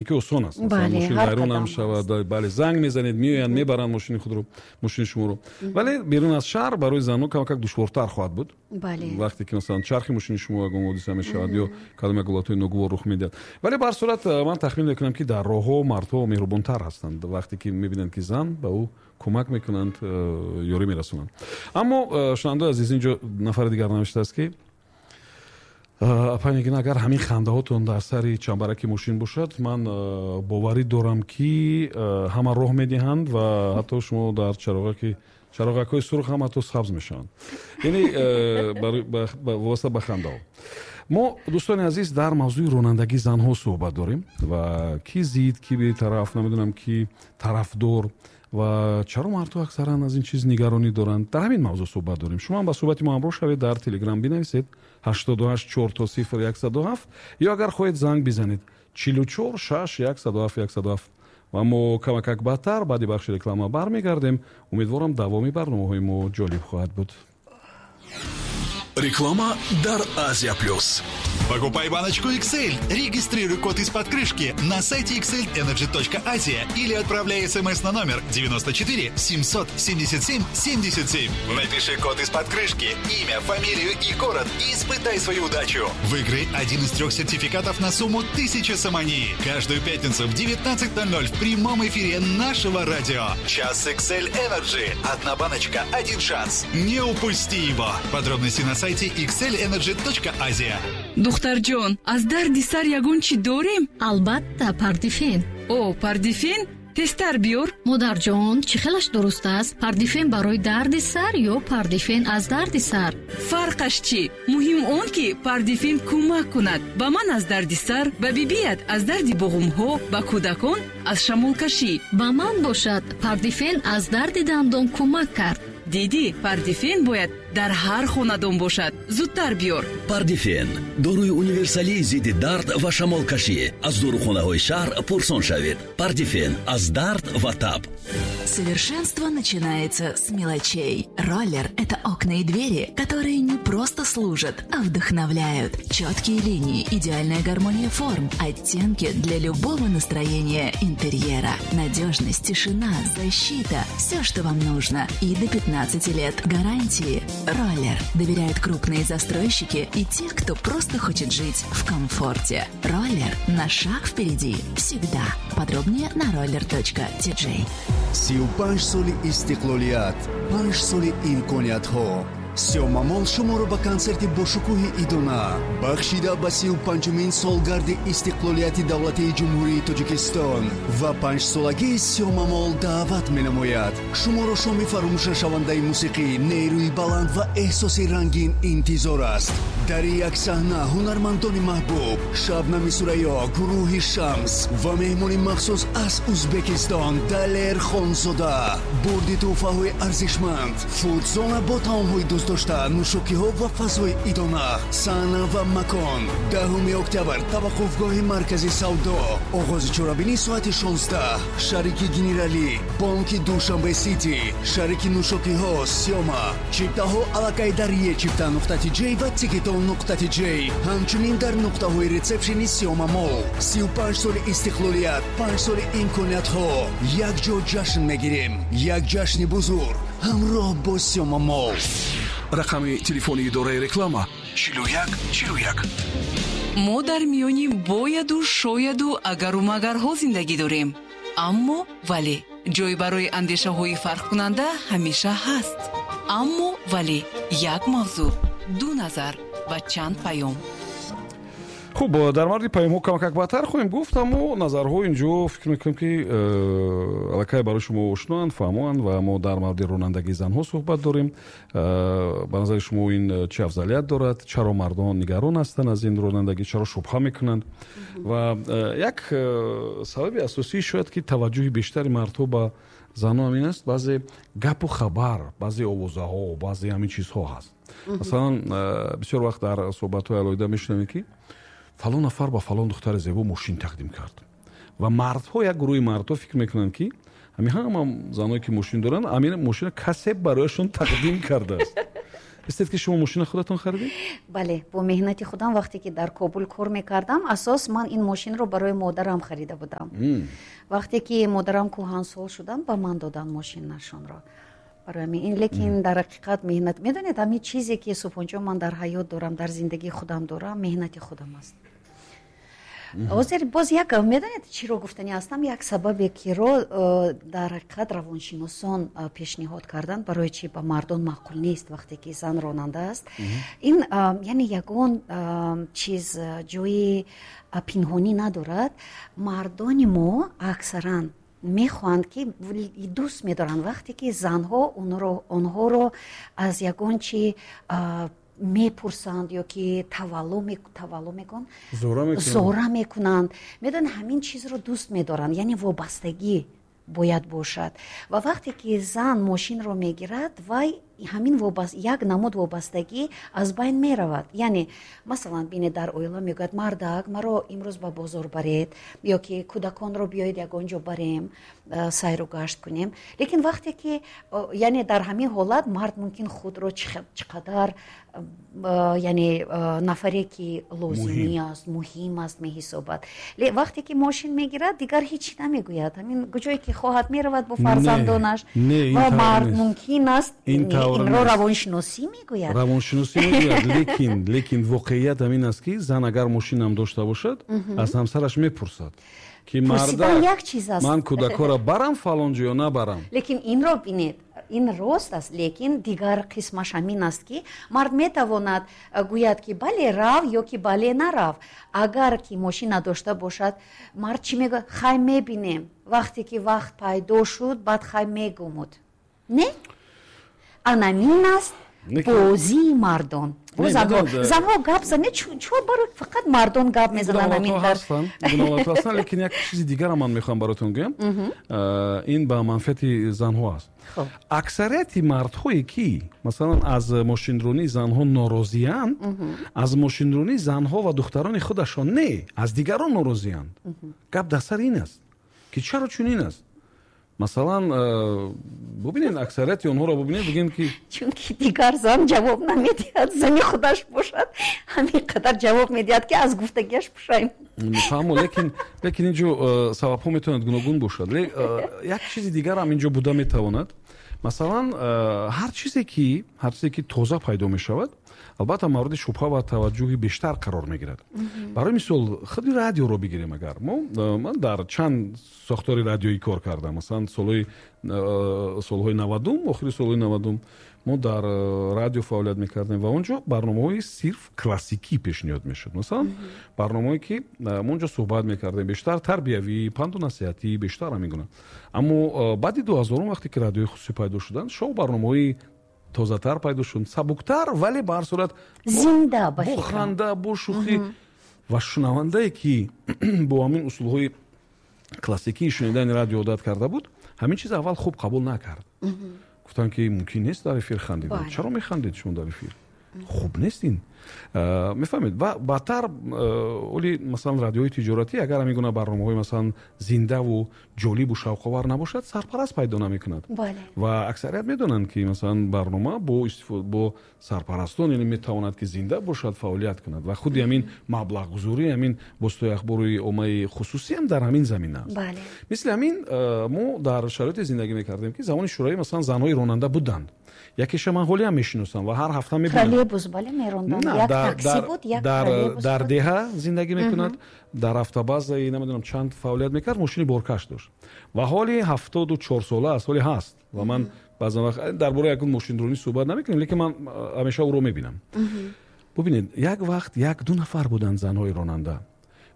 Ки осон аст, масалан, мошин вайрон ҳам шавад, бале, занг мезанед, меоянд, мебаранд мошини худро, мошини шуморо. Вале берун аз шаҳр барои занҳо камакак душвортар хоҳад буд, вақте ки, масалан, чархи мошини шумо ягон ҳодиса мешавад ё кадом як ҳолатҳои ногувор рух медиҳад. Вале ба ҳар сурат ман тахмин мекунам, ки дар роҳҳо мардҳо меҳрубонтар ҳастанд. Вақте ки мебинанд, ки зан, ба ӯ кӯмак мекунанд, ёрӣ мерасонанд. Аммо, шунавандаои азиз, инҷо нафари дигар навиштааст, ки апа Нигина, агар ҳамин хандаҳотон дар сари чамбараки мошин бошад, ман боварӣ дорам, ки ҳама роҳ медиҳанд ва ҳатто шумо дар чароғакҳои сурх ҳам ҳатто сабз мешаванд. Яъне вобаста ба хандаҳо. Мо, дӯстони азиз, дар мавзӯи ронандагии занҳо суҳбат дорем ва ки зид, ки бетараф, намедонам, ки тарафдор ва чаро мардҳо аксаран аз ин чиз нигаронӣ доранд. Дар ҳамин мавзӯъ суҳбат дорем. Шумо ҳам ба суҳбати мо ҳамроҳ шавед, дар Телеграм бинависед 88 000 107 ё агар хоҳед, занг бизанед 44 6 107 107. Ва мо камакак баъдтар, баъди бахши реклама, бармегардем. Умедворам, давоми барномаҳои мо ҷолиб хоҳад буд. Реклама дар Азия Плюс. Покупай баночку XL. Регистрируй код из-под крышки на сайте xlenergy.asia или отправляй смс на номер 94 777 77. Напиши код из-под крышки, имя, фамилию и город и испытай свою удачу. Выиграй один из трех сертификатов на сумму 1000 сомони. Каждую пятницу в 19.00 в прямом эфире нашего радио. Час XL Energy. Одна баночка, один шанс. Не упусти его. Подробности на сайте xlenergy.asia. Духтарҷон, аз дарди сар ягон чӣ дорем? Албатта, Пардифен. О, Пардифен, тезтар биёр. Модарҷон, чӣ хелаш дуруст аст? Пардифен барои дарди сар ё Пардифен аз дарди сар? Фарқаш чӣ? Муҳим он, ки Пардифен кӯмак кунад. Ба ман аз дарди сар, ба бибият аз дарди буғумҳо, ба кӯдакон аз шамолкашӣ. Ба ман бошад, Пардифен аз дарди дандон кӯмак кард. Дидӣ, Пардифен бояд дар ҳар хонадон бошад. Зудтар биёр. Пардифен, доруи универсалии зидди дард ва шамолкашӣ. Аз дорухонаҳои шаҳр пурсон шавед. Пардифен аз дард ва таб. Совершенство начинается с мелочей. Роллер – это окна и двери, которые не просто служат, а вдохновляют. Четкие линии, идеальная гармония форм, оттенки для любого настроения интерьера. Надежность, тишина, защита – все, что вам нужно. И до 15 лет гарантии. Роллер. Доверяют крупные застройщики и те, кто просто хочет жить в комфорте. Роллер на шаг впереди. Всегда. Подробнее на roller.tj. 35 соли истиқлолият, 5 соли имкониятҳо. Сиёмамол шуморо ба консерти бошукӯҳи идона, бахшида ба 35-умин солгарди истиқлолияти давлатии Ҷумҳурии Тоҷикистон ва панҷсолагии Сиёмамол даъват менамояд. Шуморо шоми фаромӯшнашавандаи мусиқӣ, нерӯи баланд ва эҳсоси рангин интизор аст. Дар як саҳна ҳунармандони маҳбуб Шабнами Сурайё, гурӯҳи Шамс ва меҳмони махсус аз Узбекистон Далер Хонзода. Бурди тӯҳфаҳои арзишманд, фудзона бо таомҳои дӯстдошта, нӯшокиҳо ва фазои идона. Саҳна ва макон: 10 октябр, таваққуфгоҳи маркази савдо. Оғози чорабинӣ соати 16. Шарики генералӣ бонки Душанбе Сити, шарики нӯшокиҳо Сиёма. Чиптаҳо аллакай дар ечипта.тj ва тикетон.тj, ҳамчунин дар нуқтаҳои ресепшени Сиёма Мол. 35 соли истиқлолият, 5 соли имкониятҳо. Якҷо ҷашн мегирем, як ҷашни бузург ҳамроҳ бо Сиёма Мол. Рақами телефони идораи реклама 41 41. Мо дар миёни бояду шояду агару магарҳо зиндагӣ дорем, аммо вале ҷой барои андешаҳои фарқкунанда ҳамеша ҳаст. Аммо вале як мавзӯъ, ду назар ва чанд паём. Хуб, дар мавриди паёмҳо камакак баъдтар хоҳем гуфт, аммо назарҳо инҷо, фикр мекунем, ки аллакай барои шумо ошноанд, фаҳмоанд. Ва мо дар мавриди ронандагии занҳо суҳбат дорем. Ба назари шумо ин чӣ афзалият дорад? Чаро мардон нигарон ҳастанд аз ин ронандагӣ? Чаро шубҳа мекунанд? Ва як сабаби асосӣ шояд, ки таваҷҷӯҳи бештари мардҳо ба занҳо ҳамин аст: баъзе гапу хабар, баъзе овозаҳо, баъзе ҳамин чизҳо ҳаст. Масалан, бисёр вақт дар суҳбатҳои алоҳида мешунавем, ки фалон нафар ба фалон духтари зебо мошин тақдим кард. Ва мардҳо, як гурӯҳи мардҳо фикр мекунанд, ки ҳамин ҳама заное, ки мошин доранд, ҳамин мошина касе барояшон тақдим кардааст. Истед, ки шумо мошина худатон харидед? Бале, бо меҳнати худам. Вақте ки дар Кобул кор мекардам, асос ман ин мошинро барои модарам харида будам. Вақте ки модарам кӯҳансол шуданд, ба ман доданд мошинашонро. Барои ҳамин ин, лекин дар ҳақиқат меҳнат, медонед, ҳамин чизе ки, Субҳонҷон, ман дар ҳаёт дорам, дар зиндагии худам дорам, меҳнати худам аст. Ҳозир боз як, медонед, чиро гуфтанӣ ҳастам? Як сабабе киро дар ҳақиқат равоншиносон пешниҳод карданд, барои чи ба мардон маъқул нест, вақте ки зан ронанда аст. Ин яъне ягон чиз ҷои пинҳонӣ надорад. Мардони мо аксаран мехоҳанд ки, дӯст медоранд, вақте ки занҳо онҳоро аз ягон чи мепурсанд ё ки тавалло мекунанд, зора мекунанд. Медонед, ҳамин чизро дӯст медоранд, яъне вобастагӣ бояд бошад. Ва вақте ки зан мошинро мегирад, вай ҳамин як намуд вобастагӣ аз байн меравад. Яъне, масалан, бинед, дар оила мегӯяд: «Мардак, маро имрӯз ба бозор баред» ё ки «Кӯдаконро биёед, ягон ҷо барем, сайру гашт кунем». Лекин вақте ки, яъне, дар ҳамин ҳолат мард мумкин худро чӣ қадар, яъне, нафаре ки лозимӣ аст, муҳим аст меҳисобад. Вақте ки мошин мегирад, дигар ҳеҷ чӣ намегӯяд, ҳамин ҷое ки хоҳад меравад бо фарзандонаш. Ва мард мумкин аст, инро равоншиносӣ мегӯяд. Равоншиносӣ мегӯяд, лекин воқеият ҳамин аст, ки зан агар мошинам дошта бошад, аз ҳамсараш мепурсад, ки марда, як чиз аст, ман кӯдакҳоро барам фалон ҷо ё набарам? Лекин инро бинед, ин рост аст, лекин дигар қисмаш ҳамин аст, ки мард метавонад гӯяд, ки бале, рав, ё ки бале, нарав. Агар ки мошин надошта бошад, мард чӣ мегӯяд? «Хай, мебинем, вақте ки вақт пайдо шуд, баъд хай мегумуд». Не, анамин аст бозии мардон. Занҳо гап занед, чор барои фақат мардон гап мезананд? Ҳастанд, лекин як чизи дигара ман мехоҳам баротон гӯям, ин ба манфиати занҳо аст. Аксарияти мардҳое ки, масалан, аз мошинронии занҳо норозиянд, аз мошинронии занҳо ва духтарони худашон не, аз дигарон норозиянд. Гап дар сари ин аст, ки чаро чунин аст. Масалан, бубинед, аксарияти онҳоро бубинед, бигӯем ки Чунки дигар зан ҷавоб намедиҳад. Зани худаш бошад, ҳамин қадар ҷавоб медиҳад, ки аз гуфтагиаш пушаймон. Фаҳмо, лекин инҷо сабабҳо метавонад гуногун бошад. Як чизи дигарам инҷо буда метавонад. Масалан, ҳар чизе ки тоза пайдо мешавад, албатта, мавриди шубҳа ва таваҷҷӯҳи бештар қарор мегирад. Барои мисол, худи радиоро бигирем. Агар мо, ман дар чанд сохтори радиоӣ кор кардам. Масалан, солҳои 90-ум, охири солҳои 90-ум мо дар радио фаъолият мекардем ва он ҷо барномаҳои сирф классикӣ пешниҳод мешуд. Масалан, барномаое ки мо онҷо суҳбат мекардем, бештар тарбиявӣ, панду насиҳатӣ, бештар ҳамин гуна. Аммо баъди 2000-ум, вақте ки радиои хусусӣ пайдо шуданд, шоу барномаҳои тозатар пайдо шуд, сабуктар, вале ба ҳар сурат зинда. Бо ханда, бо шӯхӣ. Ва шунавандае ки бо ҳамин усулҳои классикии шунидани радио одат карда буд, ҳамин чиз аввал хуб қабул накард. Гуфтанд, ки мумкин нест дар эфир хандидан, чаро механдед шумо дар эфир, хуб нест ин, мефаҳмед. Ва баъдтар оли, масалан, радиои тиҷоратӣ, агар ҳамин гуна барномаҳои, масалан, зиндаву ҷолибу шавқовар набошад, сарпараст пайдо намекунад. Ва аксарият медонанд, ки, масалан, барнома бо сарпарастон, яъне, метавонад ки зинда бошад, фаъолият кунад. Ва худи ҳамин маблағгузорӣ, ҳамин воситаи ахбори оммаи хусусиам дар ҳамин замина аст. Мисли ҳамин, мо дар шароите зиндагӣ мекардем, ки замони шӯравӣ, масалан, занҳои ронанда буданд. Якеша ман ҳолиам мешиносам ва ҳар ҳафта Мебинам, дар деҳа зиндагӣ мекунад, дар автобазаи намедонам чанд фаъолият мекард, мошини боркаш дошт ва ҳоли 74 сола аст, ҳоли ҳаст. Ва ман баъзан вақт дар бораи ягон мошинронӣ суҳбат намекунем, лекин ман ҳамеша ӯро мебинам. Бубинед, як вақт як ду нафар буданд занҳои ронанда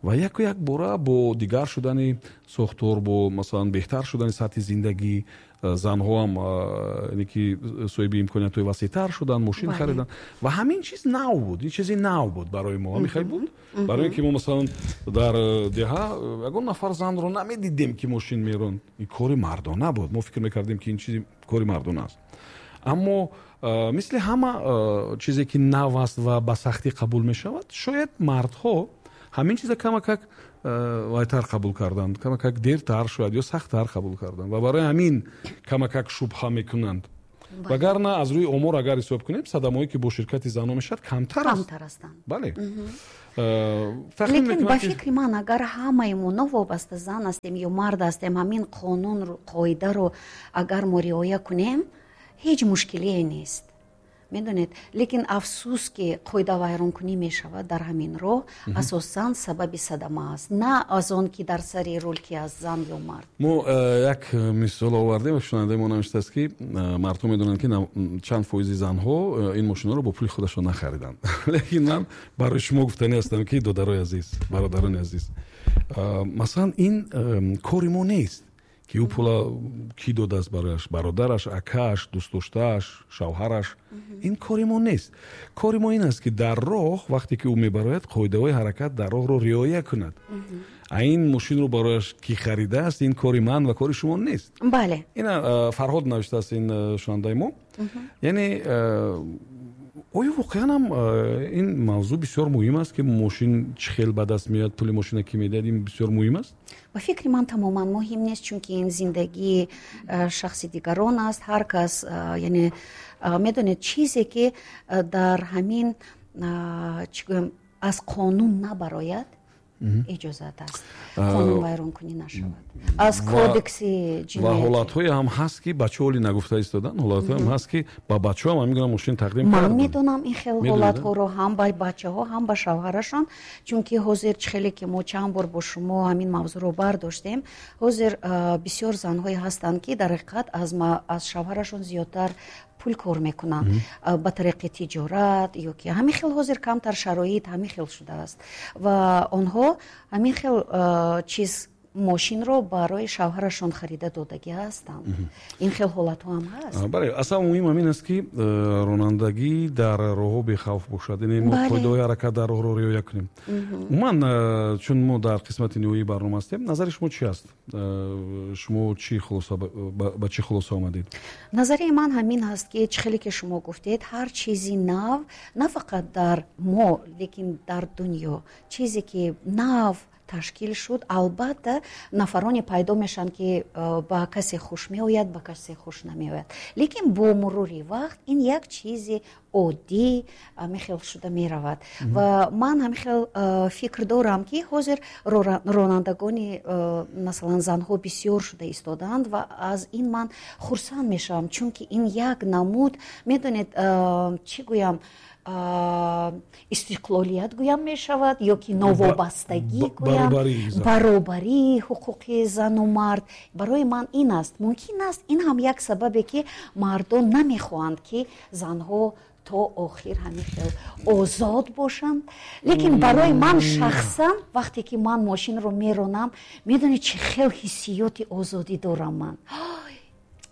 ва яку як бора бо дигар шудани сохтор, бо, масалан, беҳтар шудани сатҳи зиндагӣ, занҳоам яъне ки соҳиби имкониятҳои васеътар шуданд, мошин хариданд. Ва ҳамин чиз нав буд, ин чизи нав буд барои мо, ҳамин хел буд. Барои ин ки мо, масалан, дар деҳа ягон нафар занро намедидем, ки мошин меронд. Ин кори мардона буд, мо фикр мекардем, ки ин чизи кори мардона аст. Аммо мисли ҳама чизе ки нав аст ва ба сахтӣ қабул мешавад, шояд мардҳо ҳамин чиза камакак вайтар қабул карданд, камакак дертар шояд ё сахттар қабул карданд ва барои ҳамин камакак шубҳа мекунанд. Вагарна аз рӯи омор агар ҳисоб кунем, садамаҳое ки бо ширкати занҳо мешавад, камтар ҳастанд. Бале. Лекин ба фикри ман, агар ҳамаи мо новобаста зан ҳастем ё мард ҳастем, ҳамин қонун қоидаро агар мо риоя кунем, ҳеҷ мушкилие нест. Медонед, лекин афсӯс, ки қоидавайронкунӣ мешавад дар ҳамин роҳ, асосан сабаби садама аст, на аз он ки дар сари рул ки аст, зан ё мард. Мо як мисол овардем ва шунавандаи мо навиштааст, ки мардум медонанд, ки чанд фоизи занҳо ин мошинҳоро бо пули худашон нахариданд. Лекин ман барои шумо гуфтанӣ ҳастам, ки додарои азиз, бародарони азиз, масалан, ин кори мо нест, ки ӯ пула кӣ додааст барояш: бародараш, акааш, дӯстдоштааш, шавҳараш. Ин кори мо нест. Кори мо ин аст, ки дар роҳ, вақте ки ӯ мебарояд, қоидаҳои ҳаракат дар роҳро риоя кунад. А ин мошинро барояш кӣ харидааст, ин кори ман ва кори шумо нест. Ина Фарҳод навиштааст, ин шунавандаи мо. Яъне оё воқеан ҳам ин мавзӯъ бисёр муҳим аст, ки мошин чӣ хел ба даст меояд, пули мошина кӣ медиҳад, ин бисёр муҳим аст? Ба фикри ман, тамоман муҳим нест, чунки ин зиндагии шахси дигарон аст. Ҳар кас, яъне медонед, чизе ки дар ҳамин, чӣ гӯям, аз қонун набарояд, иҷозат аст, қонунвайронкунӣ нашавад, аз кодекси ва ҳолатҳое ҳам ҳаст, ки бачаҳо оли нагуфта истодан, ҳолатҳое ҳам ҳаст, ки ба бачаҳо ҳам ҳамин гуна мошин тақдим ман медонам ин хел ҳолатҳоро, ҳам ба бачаҳо, ҳам ба шавҳарашон, чунки ҳозир, чӣ хеле ки мо чанд бор бо шумо ҳамин мавзӯъро бардоштем, ҳозир бисёр занҳое ҳастанд, ки дар ҳақиқат аз шавҳарашон зиёдтар пул кор мекунанд ба тариқи тиҷорат ё ки ҳамин хел. Ҳозир камтар шароит ҳамин хел шудааст ва онҳо ҳамин хел чиз мошинро барои шавҳарашон харида додагӣ ҳастанд. Ин хел ҳолатҳо ҳам ҳаст. Бале, аслан муҳим ҳамин аст, ки ронандагӣ дар роҳҳо бехавф бошад, яъне мо қоидаҳои ҳаракат дар роҳро риоя кунем. Умуман, чун мо дар қисмати ниҳоии барнома ҳастем, назари шумо чӣ аст? Шумо чӣ хулоса, ба чӣ хулоса омадед? Назари ман ҳамин ҳаст, ки чӣ хеле ки шумо гуфтед, ҳар чизи нав, на фақат дар мо, лекин дар дунё чизе ки нав ташкил шуд, албатта нафароне пайдо мешаванд, ки ба касе хуш меояд, ба касе хуш намеояд, лекин бо мурури вақт ин як чизи оддӣ ҳамин хел шуда меравад. Ва ман ҳамин хел фикр дорам, ки ҳозир ронандагони, масалан, занҳо бисёр шуда истодаанд ва аз ин ман хурсанд мешавам, чунки ин як намуд, медонед, чӣ гӯям, истиқлолият гӯям мешавад ё ки новобастагӣ гӯям, баробарии ҳуқуқи зану мард. Барои ман ин аст. Мумкин аст, ин ҳам як сабабе, ки мардон намехоҳанд, ки занҳо то охир ҳамин хел озод бошанд. Лекин барои ман шахсан, вақте ки ман мошинро меронам, медонед, чӣ хел ҳиссиёти озодӣ дорам ман.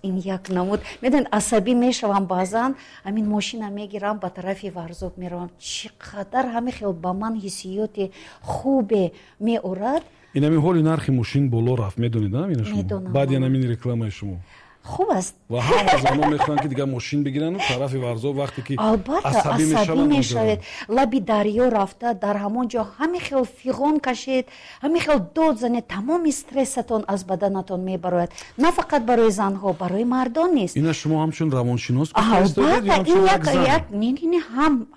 Ин як намуд, медонед, асабӣ мешавам баъзан, ҳамин мошина мегирам, ба тарафи Варзоб меравам, чӣ қадар ҳамин хел ба ман ҳиссиёти хубе меорад. Ин ҳамин ҳоли нархи мошин боло рафт, медонед, ина шумо? Баъди ҳамин рекламаи шумо. Хуб аст. Ва ҳама занон мехоҳанд, ки дигар мошин бигирану тарафи Варзоб, вақте ки албатта асабӣ асабӣ мешавед, лаби дарё рафта, дар ҳамон ҷо ҳамин хел фиғон кашед, ҳамин хел дод занед, тамоми стрессатон аз баданатон мебарояд. На фақат барои занҳо, барои мардон нест. Ина шумо ҳамчун равоншинос? Албатта, ин як не,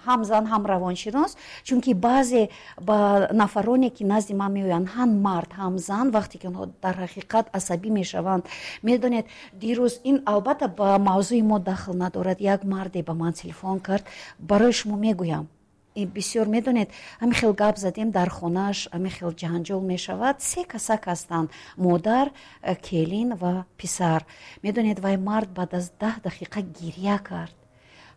ҳам зан, ҳам равоншинос, чунки баъзе ба нафароне, ки назди ман меоянд, ҳам мард, ҳам зан, вақте ки онҳо дар ҳақиқат асабӣ мешаванд, медонед, дирӯз, ин албатта ба мавзӯи мо дахл надорад, як марде ба ман телефон кард, барои шумо мегӯям, бисёр, медонед, ҳамин хел гап задем, дар хонааш ҳамин хел ҷанҷол мешавад. Се касак ҳастанд: модар, келин ва писар. Медонед, вай мард баъд аз 10 дақиқа гиря кард,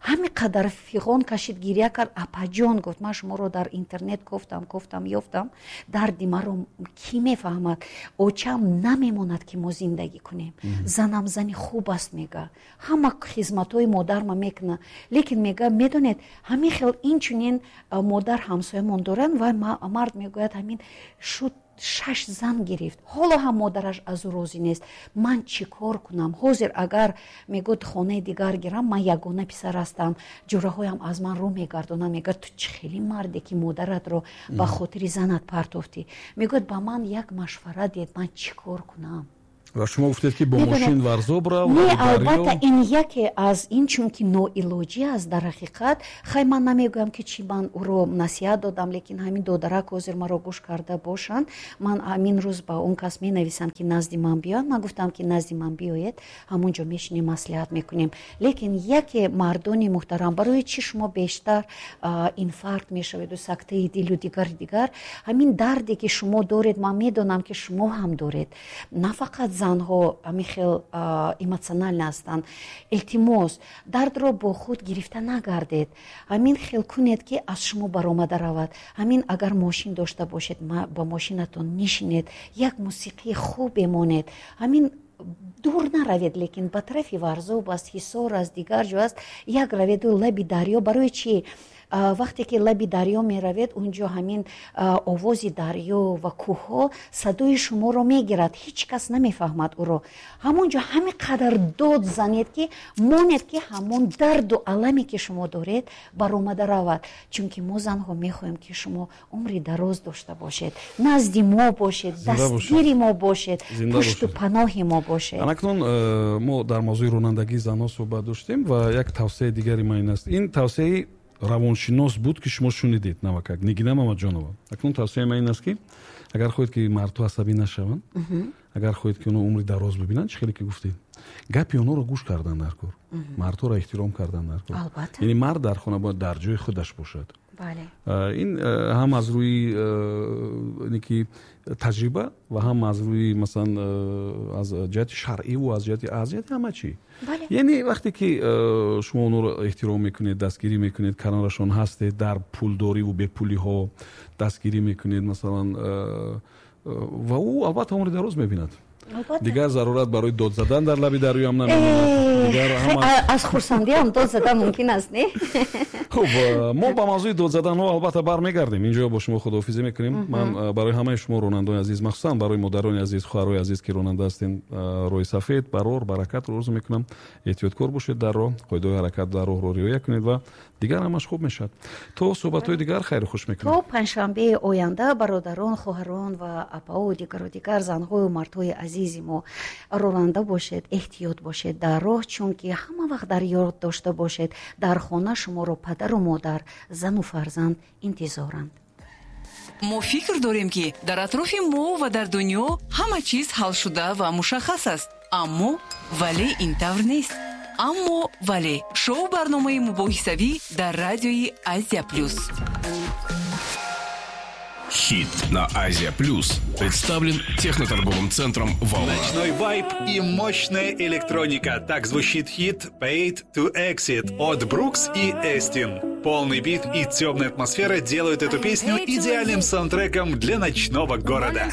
ҳамин қадар фиғон кашид, гиря кард. «Апаҷон, — гуфт, — ман шуморо дар интернет кофтам, кофтам, ёфтам. Дарди маро кӣ мефаҳмад? Очам намемонад, ки мо зиндагӣ кунем. Занам зани хуб аст, — мега, — ҳама хизматҳои модарма мекунад, лекин, — мега, — медонед, ҳамин хел инчунин модар ҳамсоямон доранд.» Ва мард мегӯяд, ҳамин шуд, шаш зан гирифт, ҳоло ҳам модараш аз ӯ розӣ нест. «Ман чӣ кор кунам ҳозир? Агар, — мегӯяд, — хонаи дигар гирам, ман ягона писар ҳастам, ҷӯраҳоям аз ман рӯ мегардонанд.» Мегӯяд, «Ту чӣ хеле марде, ки модаратро ба хотири занат партофтӣ?» Мегӯяд, «Ба ман як машварат диҳед, ман чӣ кор кунам?» Ва шумо гуфтед, ки бо мошин Варзоб рав. Не, албатта, ин яке аз ин, чунки ноилоҷӣ аст дар ҳақиқат. Хай, ман намегӯям, ки чӣ ман ӯро насиҳат додам, лекин ҳамин додарак ҳозир маро гӯш карда бошанд, ман ҳамин рӯз ба он кас менависам, ки назди ман биёяд. Ман гуфтам, ки назди ман биёед, ҳамон ҷо мешинем, маслиҳат мекунем. Лекин яке, мардони муҳтарам, барои чӣ шумо бештар инфаркт мешаведу, сактаи дилу дигар дигар? Ҳамин дарде, ки шумо доред, ман медонам, ки шумо ҳам доред, на фақат занҳо ҳамин хел эмоционально ҳастанд. Илтимос, дардро бо худ гирифта нагардед. Ҳамин хел кунед, ки аз шумо баромада равад. Ҳамин агар мошин дошта бошед, ба мошинатон нишинед, як мусиқии хубе монед, ҳамин дур наравед, лекин ба тарафи Варзоб аст, Ҳисор аст, дигар ҷо аст, як раведу лаби дарё. Барои чӣ? Вақте ки лаби дарё меравед, он ҷо ҳамин овози дарё ва кӯҳҳо садои шуморо мегирад, ҳеҷ кас намефаҳмад ӯро. Ҳамон ҷо ҳамин қадар дод занед, ки монед, ки ҳамон дарду аламе, ки шумо доред, баромада равад. Чунки мо, занҳо, мехоҳем, ки шумо умри дароз дошта бошед, назди мо бошед, дастгири мо бошед, пушту паноҳи мо бошед. Анакнун мо дар мавзӯи ронандагии занҳо суҳбат доштем ва як тавсияи дигари ман ин аст. Ин тавсияи равоншинос буд, ки шумо шунидед, навакак Нигина Мамаҷонова. Акнун тавсияи ман ин аст, ки агар хоҳед, ки мардҳо асабӣ нашаванд, агар хоҳед, ки онҳо умри дароз бибинанд, чӣ хеле ки гуфтед, гапи онҳоро гӯш кардан дар кор, мардҳоро эҳтиром кардан дар кор. Яъне мард дар хона бояд дар ҷои худаш бошад. Ин ҳам аз рӯи ки таҷриба ва ҳам аз рӯи, масалан, аз ҷиҳати шаръиву аз ҷиҳати ҳама чӣ. Яъне вақте ки шумо онҳоро эҳтиром мекунед, дастгирӣ мекунед, канорашон ҳастед, дар пулдориву бепулиҳо дастгирӣ мекунед, масалан, ва ӯ албатта умри дароз мебинад. Дигар зарурат барои дод задан дар лаби дарёам намемонад. Аз хурсандиам дод задан мумкин аст, не? Хуб, мо ба мавзӯи дод заданҳо албатта бармегардем. Инҷо бо шумо худоҳофизӣ мекунем. Ман барои ҳамаи шумо, ронандони азиз, махсусан барои модарони азиз, хоҳарои азиз, ки ронанда ҳастен, роҳи сафед, барор, баракатро орзу мекунам. Эҳтиёткор бошед дар роҳ, қоидаҳои ҳаракат дар роҳро риоя кунед ва дигар ҳамаш хуб мешавад. То суҳбатҳои дигар хайру хуш мекунем. То панҷшанбеи оянда, бародарон, хоҳарон ва апао, дигару дигар занҳою мардҳои азизи мо, ронанда бошед, эҳтиёт бошед дар роҳ, чунки ҳама вақт дар ёд дошта бошед, дар хона шуморо падару модар, зану фарзанд интизоранд. Мо фикр дорем, ки дар атрофи мо ва дар дунё ҳама чиз ҳалшуда ва мушаххас аст, аммо вале ин тавр нест. Аммо вале — шоу барномаи мубоҳисавӣ дар радиои Азия Плюс. Хит на Азия Плюс представлен техноторговым центром «Волна». Ночной вайб и мощная электроника. Так звучит хит «Paid to Exit» от Брукс и Эстин. Полный бит и темная атмосфера делают эту песню идеальным саундтреком для ночного города.